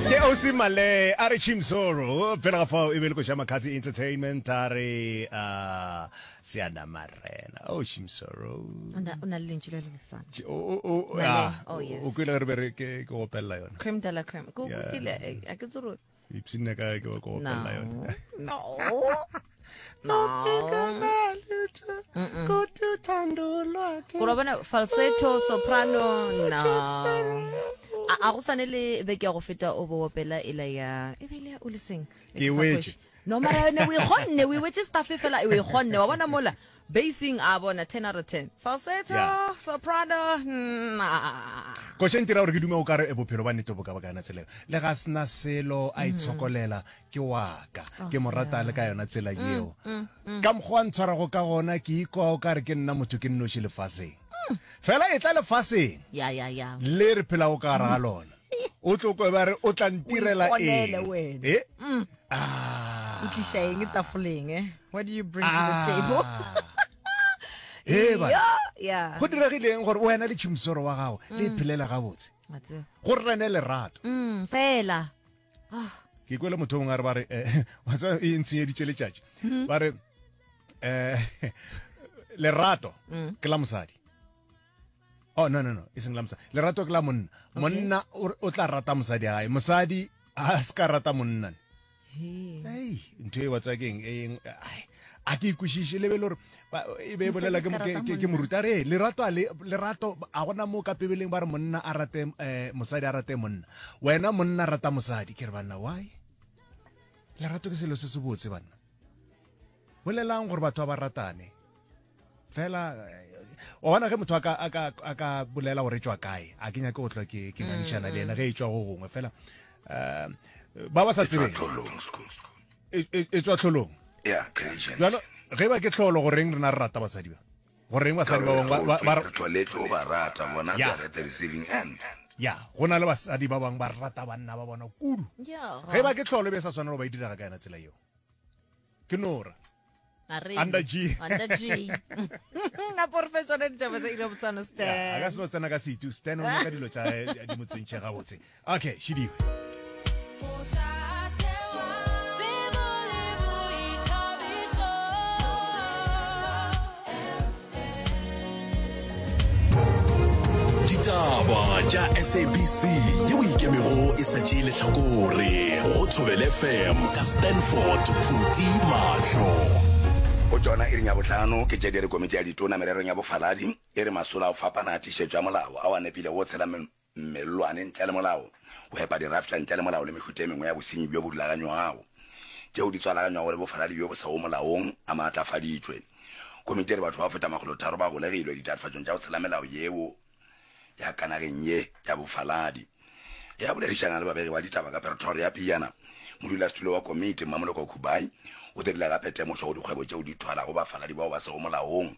Ke Osi Male a re Chimsoro pele ga fao e be le koša Makatsi Entertainment a re uh, Seanamarena. Oh Chimsoro. O na o na le lentšu le le bosana. O o o Male, ah, oh, yes. o kwele ge re be re ke ke opelela yona. Creme de la creme. Ko Yeah. kile a ke tsoro. Ipshinne ka ke ke opelela yona. No. No. Gore wa bona falsetto, soprano, no. A a go swane le beke ya go feta o bo opela ela ya e be ile ya o le seng. Ke e wetše. No mara yone o e kgonne, o e wetše staff fela o e kgonne. Wa bona mola basing a bona 10 out of 10. Falsetto, Yeah. soprano, nah. Koša ntira gore ke dume o ka re bophelo ba nnete bo ka ba ka yona tsela eo. Le ga sena selo a itshokolela ke wa ka. Ke mo rata le ka yona tsela yeo. Ka mokgwa a ntshwarago ka gona ke ikwa o ka re ke nna motho ke nnoši lefaseng. Fela e tla lefaseng Ya ya ya. le re phelago ka gare ga lona. O tlo kwe ba re o tla ntirela O iponele eng? wena. Eh? Ah. O tliša eng tafoleng eh? What do you bring to the table? Ah. Hee bana. Yeah, yeah. Go diregileng gore wena le tšhimsoro wa gago le iphelele gabotse? Wa tseba. Go rene lerato. Mm, fela. Ke kwele motho o mongwe a re ba re eh, wa tseba e ntshenyeditše letšatši. Ba re eh lerato ke la mosadi. Oh no no no, e seng la mosadi. Lerato ke la monna. Monna o o tla rata mosadi wa gae. Mosadi a se ka rata monna. Ei, ntho e wa tswa keng e eng ai, a ke ikwešiše le be le gore ba- e be e bolela ke mo- ke- ke- ke moruti a re "Ee, lerato a le lerato a gona mo ka pebeleng ba re monna a rate eh, mosadi a rate monna wena monna rata mosadi ke re banna why lerato ke selo se se botse banna Bolelang gore batho ba ba ratane. Fela wa bona ge motho a ka a ka a ka bolela gore e tšwa kae, a ke nyake go hlwa ke ke ngangišana le yena ge e tšwa go gongwe fela um ba ba sa E tšwa tsebeng tlholong school. e e- e tšwa tlholong. Yeah, creation. Bjalo ge ba ke tlholo goreng rena re rata basadi ba? Goreng Ka basadi ba gore bangwe ba ba- ba re tlholetšwe go ba rata bona Ya. they are at the receiving end. ya go na le basadi ba bangwe ba rata banna ba bona kudu. Yeah. Ge ba ke tlholo e be e sa swanela go ba e direga ka yona tsela yeo. Ke Nora. Under G. Under G. Na po re fe tsone ditaba tsa iri ya botswana Ya, a ka Stan. se no tsena ka setu Stan o nyaka dilo tša eh, di mo tsentšhe gabotse. Okay, šidiwe. Ditaba tša SABC yeo ikemego e sa tšee lehlakore go Thobela FM ka Stanford Phuti Mahlo. Go tšona iring ya bohlano ke tše di re Komiti ya Ditona Mererong ya Bofaladi e re masolo a go fapana a tiišetšo ya molao ao a nepilego go tshela mellwane ntle le molao, go epa dirafša ntle le molao le mehuta e mengwe ya bosenyi bjo bo rulaganywago tšeo di tswalaganywago le bofaladi bjo bo sego molaong a maatlafaditšwe. Komiti e re batho ba go feta makgolotharo ba golegilwe ditatofatšong tša go tshela melao yeo ya ka nageng ye ya bofaladi. Ge a boledišana le babegi ba ditaba ka Pretoria pejana, modulasetulo wa komiti, Mmamoloko Kubayi, o dirile gape temošo go dikgwebo tšeo di thwalago bafaladi bao ba sego molaong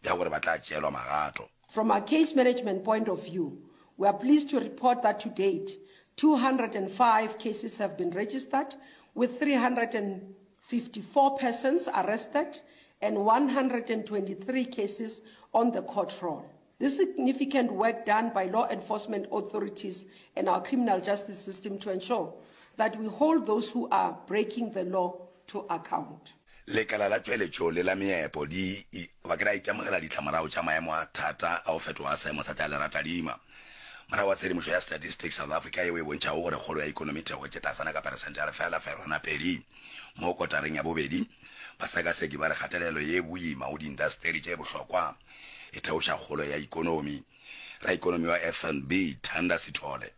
bja gore ba tla tšeelwa magato. From a case management point of view, we are pleased to report that to date, 205 cases have been registered, with 354 persons arrested and 123 cases on the court roll. This significant work done by law enforcement authorities and our criminal justice system to ensure that we hold those who are breaking the law to account. Lekala la tšweletšo le la meepo di ba ke la itemogela ditlamorago tša maemo a thata a go fetoga ga seemo sa tša leratadima. Morago ga tshedimošo ya Statistics South Africa yeo e bontšhago gore kgolo ya ikonomi e theogetše tlasana ka peresente ya 0.2 mo kotareng ya bobedi, basekaseki ba re kgatelelo ye boima go diindasteri tše bohlokwa e theoša kgolo ya ikonomi. Raikonomi wa FNB, Thanda Sithole,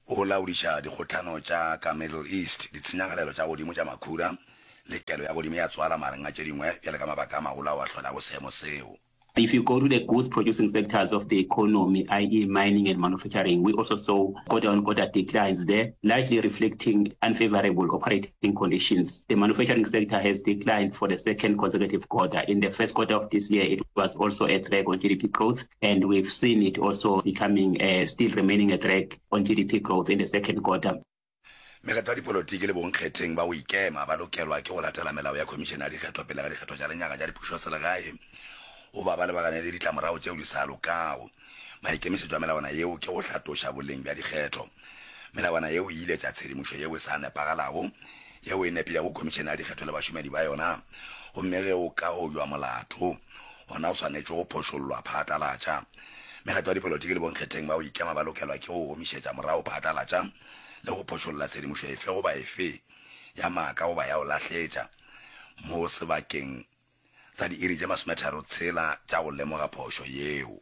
o laodiša dikgohlano tša ka Middle East, ditshenyagalelo tša godimo tša makhura le kelo ya godimo ya tswala magareng a tše dingwe bjale ka mabaka a magolo ao a hlolago seemo seo. If you go to the goods producing sectors of the economy, i.e. mining and manufacturing, we also saw quarter-on-quarter declines there, largely reflecting unfavorable operating conditions. The manufacturing sector has declined for the second consecutive quarter. In the first quarter of this year, it was also a drag on GDP growth, and we've seen it also becoming uh, still remaining a drag on GDP growth in the second quarter. Mekgatlo ya dipolotiki le bonkgetheng ba go ikema ba lokelwa ke go latela melao ya Khomišene ya Dikgetho pele ga dikgetho tša lenyaga tša dipušoselegae goba ba lebagane le ditlamorago tšeo di sa lokago. Maikemišetšo a melawana yeo ke go hlatoša boleng bja dikgetho. Melawana yeo e iletša tshedimošo yeo e sa nepagalago yeo e nepilego Khomišene ya Dikgetho le bašomedi ba yona, gomme ge o ka ojwa molato, gona o swanetše go phošollwa phatlalatša. Mekgatlo ya dipolotiki le bonkgetheng ba go ikema ba lokelwa ke go gomišetša morago phatlalatša le go phošolla tshedimošo efe goba efe ya maaka goba ya go lahletša mo sebakeng sa diiri tše masometharotshela tša go lemoga phošo yeo.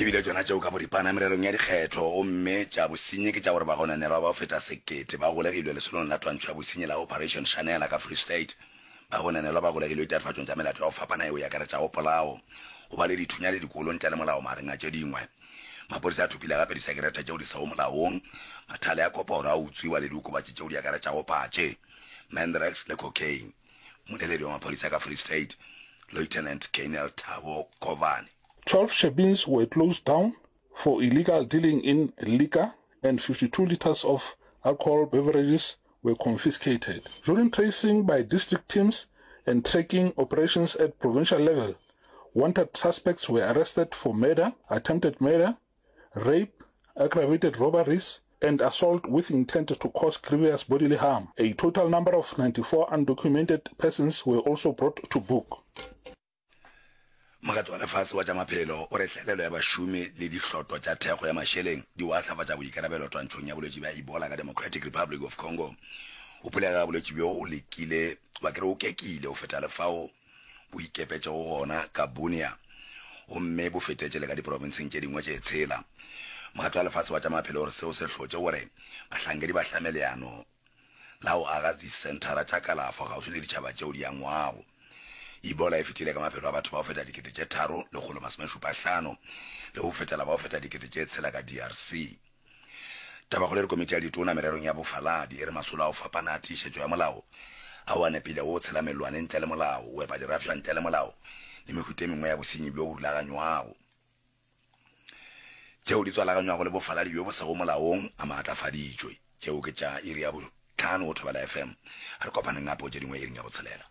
E bile tšona tšeo ka boripana mererong ya dikgetho, gomme tša bosenyi ke tša gore bagononelwa ba go feta sekete ba golegilwe lesolong la twantšho ya bosenyi la Operation Shanela ka Free State. Bagononelwa ba golegilwe ditatofatšong tša melato ya go fapana yeo e akaretšago polao, go ba le dithunya le dikolo ntle le molao magareng a tše dingwe. Maphodisa a thopile gape disekerete tšeo di sego molaong, mathale a koporo a utswiwa le diokobatši tšeo di akaretšago patše, mandrax le cocaine. Mmoleledi wa maphodisa ka Free State, Lieutenant Colonel Thabo Kovane. 12 shebeens were closed down for illegal dealing in liquor and 52 litres of alcohol beverages were confiscated. During tracing by district teams and tracking operations at provincial level, wanted suspects were arrested for murder, attempted murder, rape, aggravated robberies, and assault with intent to cause grievous bodily harm. A total number of 94 undocumented persons were also brought to book. Mokgatlo wa Lefase wa tša Maphelo o re hlaelelo ya bašomi le dihloto tša thekgo ya mašeleng di oahlafatša boikarabelo twantšhong ya bolwetši bja Ebola ka Democratic Republic of Congo. Go phulega ga bolwetši bjo o lekile goba ke re o kekile go feta le fao bo ikepetšego gona ka Bunia gomme bo fetetše le ka diprofenseng tše dingwe tše tshela. Mokgatlo wa Lefase wa tša Maphelo o re seo se hlotše gore bahlankedi ba hlame leano la go aga disenthara tša kalafo kgauswi le ditšhaba tšeo di angwago. Ebola e fetile ka maphelo a batho ba go feta 3,175 le go fetela ba go feta 6,000 ka DRC. Tabakgolo e re komiti ya ditona mererong ya bofaladi e re masolo a go fapana a tiišetšo ya molao ao a nepilego go tshela mellwane ntle le molao, go epa dirafša ntle le molao le mehuta e mengwe ya bosenyi bjo bo rulaganywago tšeo di tswalaganywago le bofaladi bjo bo sego molaong a maatlafaditšwe. Tšeo ke tša iri ya bohlano go Thobela FM. A re kopaneng gape go tše dingwe iring ya botshelela.